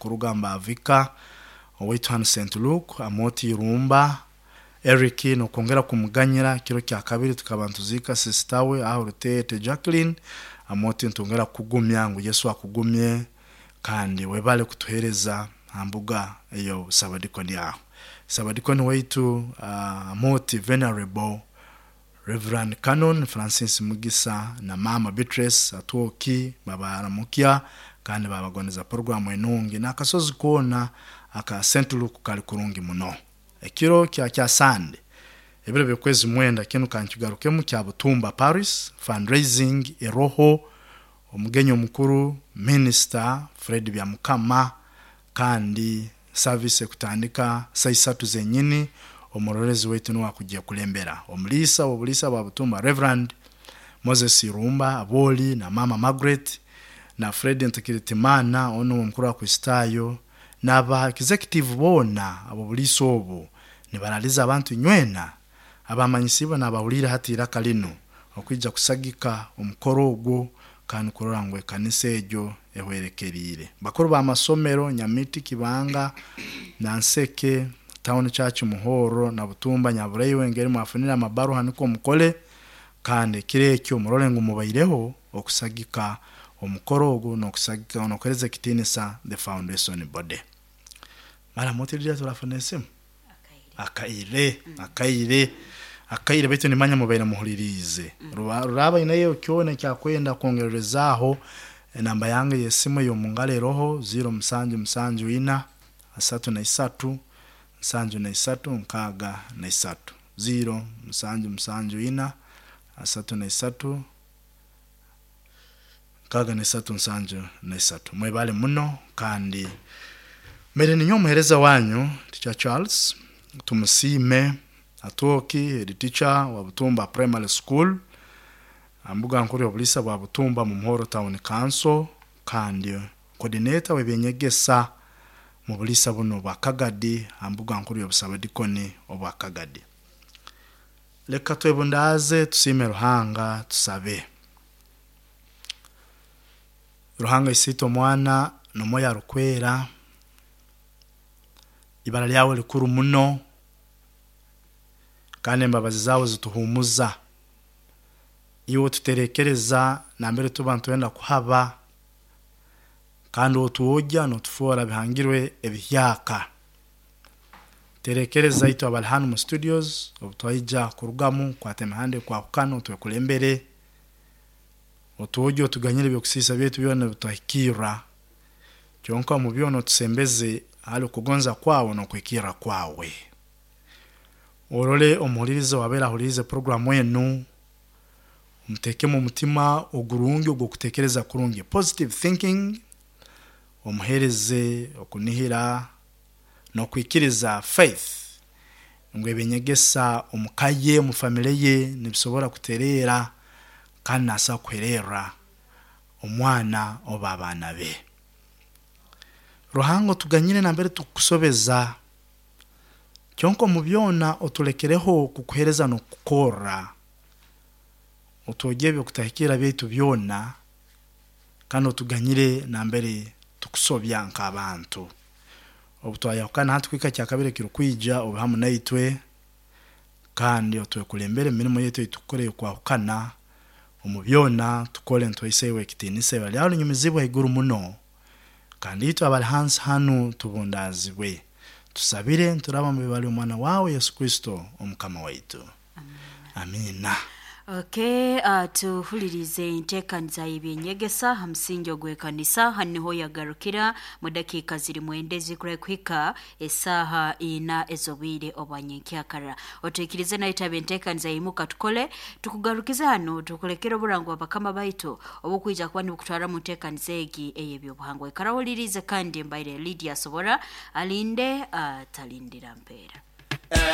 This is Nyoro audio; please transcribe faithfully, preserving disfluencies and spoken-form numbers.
Kurugamba Avika owaitu hanu Saint Luke Amoti Irumba Eric nokwongera kumuganyira kiro kya kabiri tukaba ntuziika sister we aho Rutete Jacqueline. Amoti ntongera kugumya ngu Yesu akugumye kandi webale kutuhereza hambuga eyo sabadikoni aho sabadikoni waitu uh, Amoti Venerable Reverend Canon Francis Mugisa na Mama Beatrice Atwoki babaramukya kandi babagondeza programu enungi n'akasozi koona aka Saint Luke kali kurungi muno. Ekiro kya kya Sande ebiro by'okwezi mwenda kinu kankigarukemu kya Butumba Paris fundraising eroho omugenyi omukuru Minister Fred Byamukama kandi service ekutandika saa isatu zenyini omurorezi waitu niwe akujja kulembera omuliisa w'obuliisa bwa Butumba Reverend Moses Irumba Aboli na Mama Margaret na Fred Ntekiritimana ono omukuru wa Kristayo n'aba executive boona abo buliisa obu nibaraliza abantu nywena abamanyisibwa n'abahulire hati iraka linu okwija kusagika omukoro ogwo kandi kurora ngu ekanisa egyo ehwerekeriire. Bakuru b'amasomero Nyamiti Kibanga Nanseke Town Church Muhoro na Butumba Nyabureiwe ngeri mwafunire amabaruha niko mukole kandi ekiro ekyo murole ngu mubaireho okusagika omukoro ogu n'okusagika n'okuhereza ekitiinisa the foundation body. Mara mutirira turafuna esimu akaire akaire akaire baitu nimanya mubaire muhuliriize ruraba inayo kyona kyakwenda kwongererezaaho enamba yange y'esimu ey'omungaro eroho ziro musanju musanju ina asatu na isatu nsanju na isatu nkaaga na isatu ziro musanju musanju ina asatu na isatu nkaaga na isatu nsanju na isatu. Mwebale muno kandi mbere ninyo omuhereza wanyu Teacher Charles Tumusiime Atwoki head teacher wa Butumba Primary School ambuga nkuru y'obuliisa bwa Butumba mu Muhoro Town Council kandi coordinator w'ebyenyegesa mu buliisa buno bwa Kagadi ambuga nkuru y'obusabadikoni obwa Kagadi. Leka twebundaaze tusiime Ruhanga tusabe. Ruhanga isiite omwana n'omwoyo arukwera ibara lyawe likuru muno kandi embabazi zaawe zituhumuza iwe otuterekereza nambere tuba nitwenda kuhaba kandi otuwogya n'otufoora bihangirwe ebihyaka. Terekereza itwe abali hanu mu studios obu twaija kurugamu kwata emihanda ekwahukana otwekulembere otuwogye otuganyire ebyokusiisa byaitu byona ebitwahikirra kyonka omu byona otusembeze hali okugonza kwawe n'okwikirra kwawe. Orole omuhuliriza owabeire ahulirize programu enu omuteekemu omutima ogurungi ogw'okuteekereza kurungi positive thinking omuheereze okunihira n'okwikiriza faith ngu ebyenyegesa omu ka ye omu famire ye nibisobora kutereera kandi naasobola kuhererra omwana oba abaana be. Ruhanga otuganyire nambere tukukusobeza kyonka omu byona otulekereho kukuhereza n'okukukorra otwogye ebyokutahikirra byaitu byona kandi otuganyire nambere tukusobya nk'abantu. Obu twayahukana hati kuhika kyakabiri ekirukwija obe hamu naitwe kandi otwekulembere emirimo yaitu eitukukora ey'okwahukana omu byona tukole nituhaisa iwe ekitiinisa ibara lyawe linyumizibwe haiguru muno kandi itwe abali hansi hanu tubundaazibwe. Tusabire nturaba mu ibara ly'omwana wawe Yesu Kristo omukama waitu. Amiina. Okay, uh, tuhulirize enteekaniza y'ebyenyegesa ha musingi ogw'ekanisa hanu niho yagarukira mu dakiika ziri mwenda ezikurahi kuhika esaaha ina ez'obwire obwa nyenkyakara. Otuikirize naitaba enteekaniza yimuka tukole tukugarukize hanu tukulekere oburango bwa bakama baitu obukwija kuba nibukutwara mu nteekaniza egi ey'ebyobuhangwa. Ikara ohulirize kandi mbaire Lydia Asobora alinde atalindira mpeera.